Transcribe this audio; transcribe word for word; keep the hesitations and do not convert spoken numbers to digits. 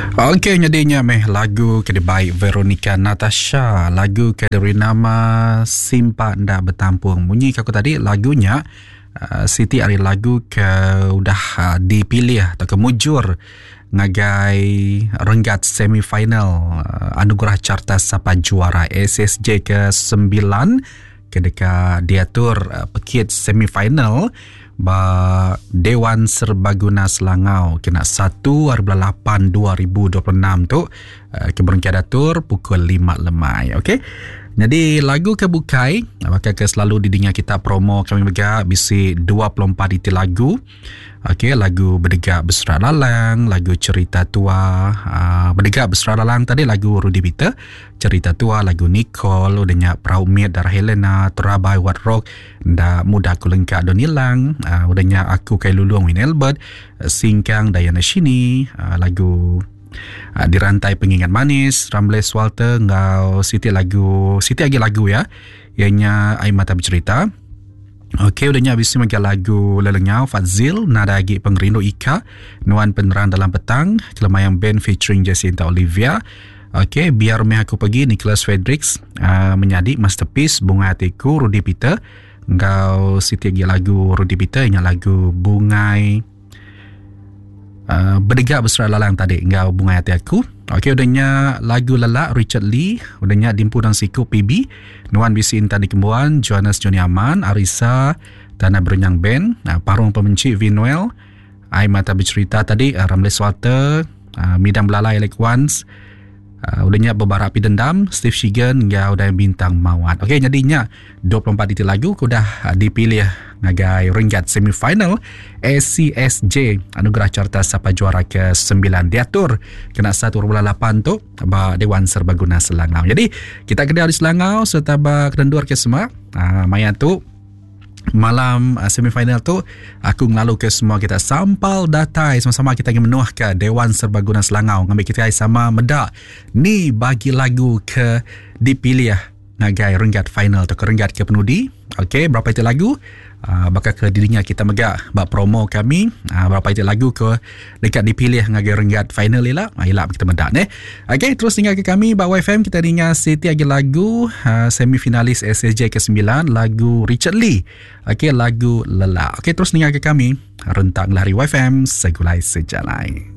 Okey, nyadinya meh lagu ke dibai Veronica Natasha, lagu ke diberi nama Simpa Enda Betampung. Munyi ke aku tadi lagunya uh, siti ari lagu ke udah uh, dipilih atau ke mujur ngagai renggat semifinal uh, Anugerah Carta Sapa Juara S S J ke sembilan ke deka diatur uh, pekit semifinal ba Dewan Serbaguna Selangau kena satu hari bulan lapan dua ribu dua puluh enam tu uh, ke berengkah diatur pukul lima lemai. Okey. Jadi lagu ke bukai bakal ke selalu didengar kita promo kami mega bisi dua puluh empat iti lagu. Okey, lagu Berdegak Berserak Lalang, lagu Cerita Tua, uh, Berdegak Berserak Lalang tadi lagu Rudy Peter, Cerita Tua lagu Nicole, udahnya Perahu Mit Darah Helena, Terabai Wat Rock, Nda Muda Aku Lengkak Don Ilang, uh, udahnya Aku Kai Lulung Win Albert, Singkang Diana Shini, uh, lagu uh, Dirantai Pengingat Manis, Ramles Walter ngau siti lagu, siti lagi lagu ya, ianya Air Mata Bercerita. Okey, udahnya habis ni lagu Lelengau Fazil, Nada Agi Pengerindu Ika, Nuan Penerang Dalam Petang, Kelemayang Band featuring Jacinta Olivia. Okey, Biar Meh Aku Pergi Nicholas Fredericks, uh, Menyadi Masterpiece Bunga Hatiku Rudy Peter, ngau siti lagi lagu Rudy Peter ingat lagu Bungai uh, Berdegak Berserak Lalang tadi ngau Bunga Hati Aku. Okey, udahnya lagu Lelak Richard Lee, udahnya Dimpu dan Siku P B, Nuan Bisi Intan Dikembuan, Johannes Johnny Aman, Arisa Tanah Berenyang Band, Parung Pemenci Vinuel, Air Mata Bercerita tadi Ramles Walter, Midang Belalai Alec Ones, udahnya Bebarak Api Dendam Steve Shigan ngau dan Bintang Mawat. Okey, jadinya dua puluh empat detik lagu udah dipilih ngagai renggat semifinal A C S J Anugerah Carta Sapa Juara ke sembilan diatur kena satu bulan lapan tu ba Dewan Serbaguna Selangau. Jadi kita kena di Selangau serta ba kendur ke semua. Ha, maya tu malam semifinal tu aku ngelalu ke semua kita sampal datai sama-sama kita ingin menuh ke Dewan Serbaguna Selangau ngambil kita sama medak ni bagi lagu ke dipilih ngagai renggat final atau ke renggat ke penudi. Okey, berapa itu lagu? Uh, bakal ke dirinya kita megak bak promo kami, uh, berapa itu lagu ke dekat dipilih ngagai renggat final ila. Uh, ila kita medak ne. Okey, terus tinggal ke kami bak Y F M kita dengar seti lagi lagu uh, semifinalis S S J ke sembilan lagu Richard Lee. Okey, lagu Lelak. Okey, terus tinggal ke kami rentak lari Y F M segulai sejalai.